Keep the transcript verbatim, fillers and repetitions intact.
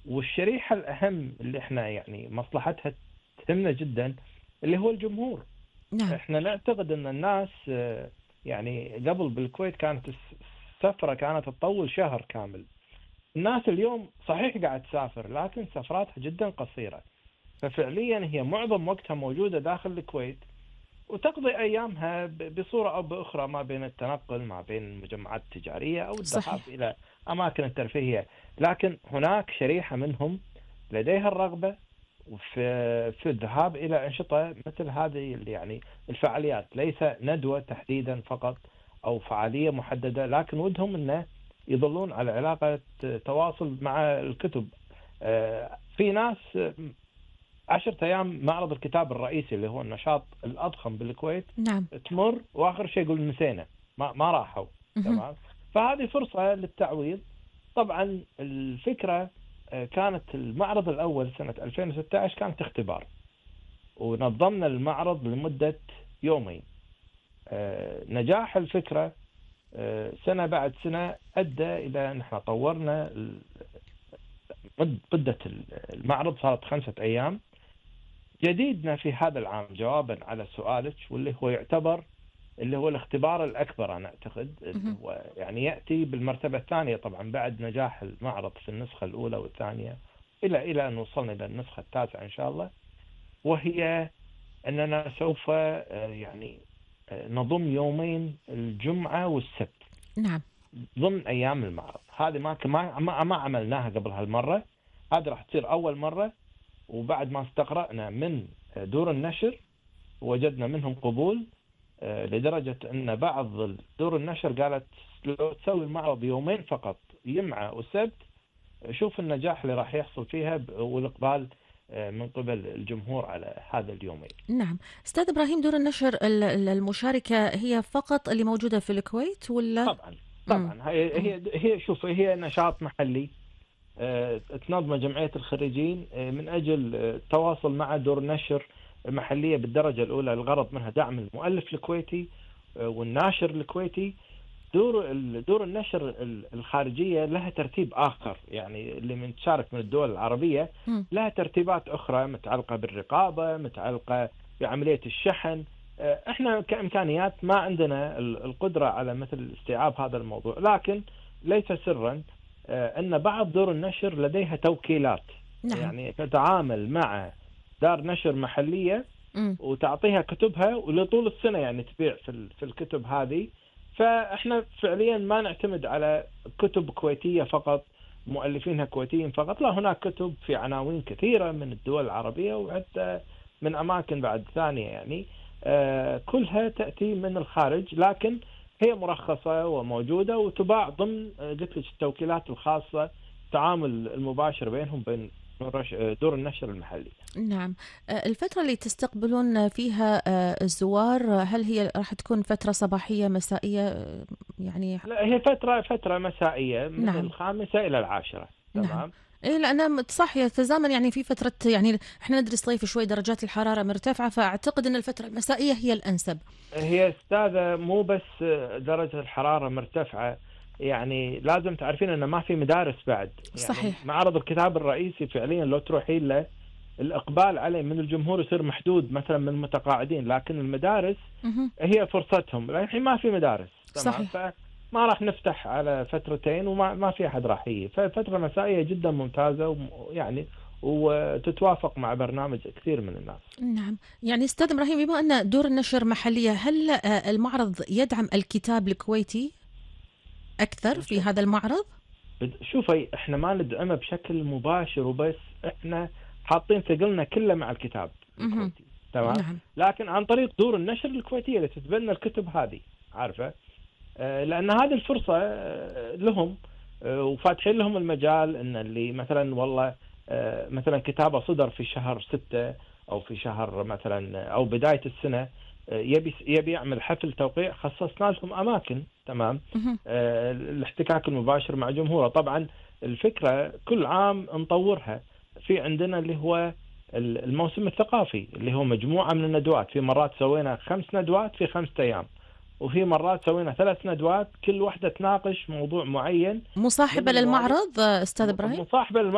والشريحة الأهم اللي احنا يعني مصلحتها تهمنا جدا اللي هو الجمهور. نعم. احنا نعتقد ان الناس آه، يعني قبل بالكويت كانت الس- السفرة كانت تطول شهر كامل. الناس اليوم صحيح قاعد تسافر لكن سفراتها جدا قصيرة، ففعليا هي معظم وقتها موجودة داخل الكويت، وتقضي أيامها ب- بصورة أو بأخرى ما بين التنقل، ما بين المجمعات التجارية أو الذهاب صحيح. إلى أماكن الترفيهية. لكن هناك شريحة منهم لديها الرغبة في في الذهاب إلى أنشطة مثل هذه اللي يعني الفعاليات، ليس ندوة تحديدا فقط أو فعالية محددة، لكن ودهم أنه يظلون على علاقة تواصل مع الكتب. آه، في ناس عشرة أيام معرض الكتاب الرئيسي اللي هو النشاط الأضخم بالكويت نعم. تمر وآخر شيء يقول نسينا، ما ما راحوا. مهم. تمام. فهذه فرصة للتعويض. طبعا الفكرة آه، كانت المعرض الأول سنة ألفين وستة عشر كانت اختبار، ونظمنا المعرض لمدة يومين. آه، نجاح الفكرة آه، سنة بعد سنة أدى إلى أن احنا طورنا ال- مد- مدة المعرض صارت خمسة أيام. جديدنا في هذا العام جوابا على سؤالك، واللي هو يعتبر اللي هو الاختبار الأكبر أنا أعتقد، اللي مهم. هو يعني يأتي بالمرتبة الثانية طبعا بعد نجاح المعرض في النسخة الأولى والثانية، إلى إلى أن وصلنا إلى النسخة التاسعة إن شاء الله. وهي أننا سوف آه، يعني آه، نضم يومين الجمعة والسبت نعم. ضمن أيام المعرض. هذه ما ما ما ما عملناها قبل هالمرة، هذه راح تصير أول مرة. وبعد ما استقرأنا من دور النشر وجدنا منهم قبول، آه، لدرجة أن بعض دور النشر قالت لو تسوي المعرض يومين فقط جمعة وسبت شوف النجاح اللي راح يحصل فيها ب- والإقبال آه، من قبل الجمهور على هذا اليومين. نعم. أستاذ إبراهيم، دور النشر ال- ال- المشاركة هي فقط اللي موجودة في الكويت ولا؟ طبعا مم. طبعا هي مم. هي هي شوف هي نشاط محلي آه، تنظمه جمعية الخريجين آه، من أجل آه، التواصل مع دور نشر محلية بالدرجة الأولى. الغرض منها دعم المؤلف الكويتي آه، والناشر الكويتي. دور ال- دور النشر ال- الخارجية لها ترتيب آخر، يعني اللي من تشارك من الدول العربية مم. لها ترتيبات أخرى متعلقة بالرقابة، متعلقة بعملية الشحن. آه، احنا كإمكانيات ما عندنا ال- القدرة على مثل استيعاب هذا الموضوع، لكن ليس سرا آه، أن بعض دور النشر لديها توكيلات، نعم. يعني تتعامل مع دار نشر محلية مم. وتعطيها كتبها ولطول السنة يعني تبيع في ال- في الكتب هذه. فاحنا فعليا ما نعتمد على كتب كويتية فقط، مؤلفينها كويتيين فقط، لا، هناك كتب في عناوين كثيرة من الدول العربية وحتى من أماكن بعد ثانية يعني آه، كلها تأتي من الخارج، لكن هي مرخصة وموجودة وتباع ضمن آه، قلت لك التوكيلات الخاصة، التعامل المباشر بينهم بين دور النشر المحلي. نعم. آه، الفترة اللي تستقبلون فيها آه، الزوار، آه، هل هي راح تكون فترة صباحية مسائية؟ آه، يعني. لا، هي فترة فترة مسائية من نعم. الخامسة إلى العاشرة. نعم. تمام. إيه، لأن صح يتزامن يعني في فترة، يعني إحنا ندري صيف شوي درجات الحرارة مرتفعة، فأعتقد أن الفترة المسائية هي الأنسب. هي أستاذة مو بس درجة الحرارة مرتفعة، يعني لازم تعرفين أن ما في مدارس بعد. يعني صحيح. معرض الكتاب الرئيسي فعليا لو تروحين له الإقبال عليه من الجمهور يصير محدود مثلا من المتقاعدين، لكن المدارس مهم. هي فرصتهم، لكن الحين ما في مدارس. تمام. صحيح. فما راح نفتح على فترتين وما ما في أحد راح يجي، ففترة مسائية جدا ممتازة ويعني وتتوافق مع برنامج كثير من الناس. نعم. يعني أستاذ إبراهيم، بما أن دور النشر محلية، هل آه، المعرض يدعم الكتاب الكويتي أكثر في هذا المعرض؟ بد- شوفي احنا ما ندعمه بشكل مباشر وبس، احنا حاطين ثقلنا كله مع الكتاب مهم. الكويتي. تمام. نعم. لكن عن طريق دور النشر الكويتية اللي تتبنى الكتب هذه، عارفة، آه، لأن هذه الفرصة آه، لهم، آه، وفاتحين لهم المجال ان اللي مثلا والله آه، مثلا كتابه صدر في شهر ستة او في شهر مثلا او بداية السنة، آه، يبي يبي يعمل حفل توقيع، خصصنا لهم اماكن. تمام. مهم. آه، الاحتكاك المباشر مع جمهوره. طبعا الفكرة كل عام نطورها. في عندنا اللي هو الموسم الثقافي اللي هو مجموعة من الندوات، في مرات سوينا خمس ندوات في خمسة أيام، وفي مرات سوينا ثلاث ندوات كل واحدة تناقش موضوع معين من مصاحبة المواضيع، للمعرض آه، أستاذ إبراهيم؟ مصاحبة